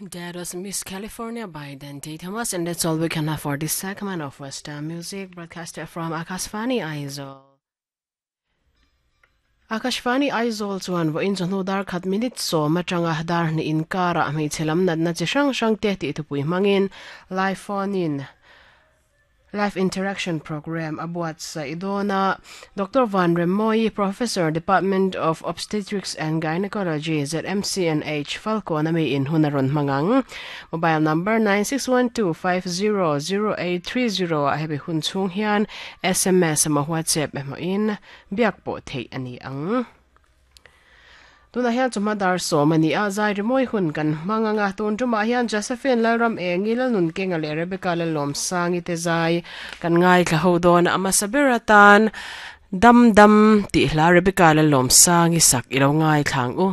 That was Miss California by Dante Thomas, and that's all we can have for this segment of Western Music broadcasted from Akashvani Aizawl. Akashvani Aizawl chuan vawiin chawhnu dar khat minute sawm atanga dar hnih inkarah hmeichhe lam natna chi hrang hrang te tih thupui hmangin live phone in Live Interaction Programme a buatsaih dawn a. Doctor Van Remmawi, Professor, Department of Obstetrics and Gynaecology, ZMCNH, Falkawn ami in hun a rawn hmang ang. Mobile number 9612500830 ah hemi hun chhung hian sms emaw WhatsApp emaw in biak pawh theih a ni ang. Tunah hian chawhma dar sawm a ni a, zai rimawi hun kan hmang ang a, tun tumah hian Josephine Lalram Engi, Lalnunkenga leh Rebecca Lalawmsangi te zai kan ngaithla ho dawn a, a hmasa ber atan Dam Dam tih hla Rebecca Lalawmsangi sak i lo ngaithla ang u.